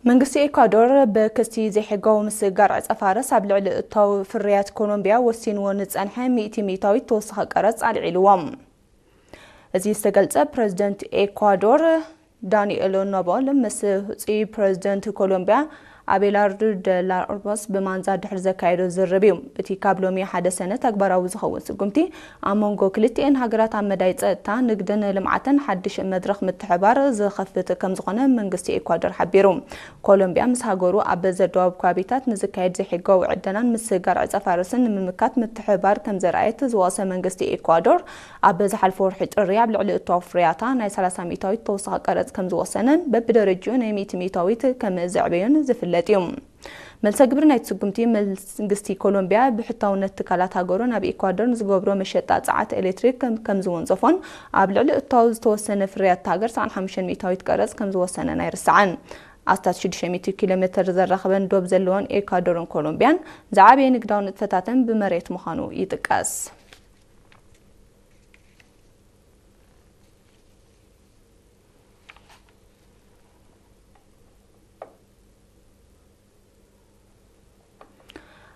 መንግስቲ ኤኳዶር ብክስቲ ዘይሕጋዊ ምስግጋር ዕጸ ፋርስ ኣብ ልዕሊ እታው ፍርያት ኮሎምቢያ ወሲንዎ ንጸንሐ ሚእቲ ሚእታዊት ተወሳኺ ቀረጽ ኣልዒልዎም። እዚ ዝተገልጸ ፕረዚደንት ኤኳዶር ዳንኤሎ ኖቦል ምስ ህጹይ ፕረዚደንት ኮሎምቢያ ኣቤላርዶ ደ ላ ኦርቦስ ብማንዛ ድሕሪ ዘካየዶ ዝርርብ እዩ። እቲ ካብ ሎሚ ሓደ ሰነ ተግባራዊ ዝኸውን ስጉምቲ ኣብ መንጎ ክልቲኤን ሃገራት ኣብ መዳይ ጸጥታ፣ ንግድን ልምዓትን ሓድሽ መድረኽ ምትሕባር ዝኸፍት ከም ዝኾነ መንግስቲ ኤኳዶር ሓቢሩ። ኮሎምቢያ ምስ ሃገሩ ኣብ ዘደዋብ ከባቢታት ንዝካየድ ዘይሕጋዊ ዕደናን ምስግጋር ዕጸ ፋርስን ንምምካት ምትሕባር ከም ዘርኣየት ዝወቕሰ መንግስቲ ኤኳዶር፣ ኣብ ዝሓለፈ ወርሒ ጥሪ ኣብ ልዕሊ እታው ፍርያታ ናይ ሰላሳ ሚእታዊት ተወሳኺ ቀረጽ ከም ዝወሰነን በብደረጅኡ ናይ ሚእቲ ሚእታዊት ከም ዘዕበዮን ዝፍለጥ እዩ። መልሰ ግብሪ ናይቲ ስጉምቲ መንግስቲ ኮሎምቢያ ብሕታውነት ትካላት ሃገሩ ናብ ኤኳዶር ንዝገብሮ መሸጣ ጸዓት ኤሌክትሪክ ከም ከም ዝወንጸፎን ኣብ ልዕሊ እታው ዝተወሰነ ፍርያት ሃገር ሰብዓን ሓሙሽተን ሚእታዊት ቀረጽ ከም ዝወሰነን ኣይርሳዕን። ኣስታት ሽዱሽተ ሚእቲ ኪሎ ሜትር ዘራኽበን ዶብ ዘለወን ኤኳዶርን ኮሎምቢያን ዝዓበየ ንግዳዊ ንጥፈታተን ብመሬት ምዃኑ ይጥቀስ።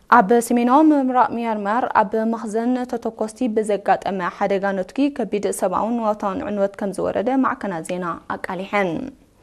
ኣብ ሰሜናዊ ምብራቕ ሚያንማር ኣብ መኽዘን ተተኮስቲ ብዘጋጠመ ሓደጋ ነትጒ ከቢድ ሰብኣውን ንዋታውን ዕንወት ከም ዝወረደ ማዕከናት ዜና ኣቃሊሐን።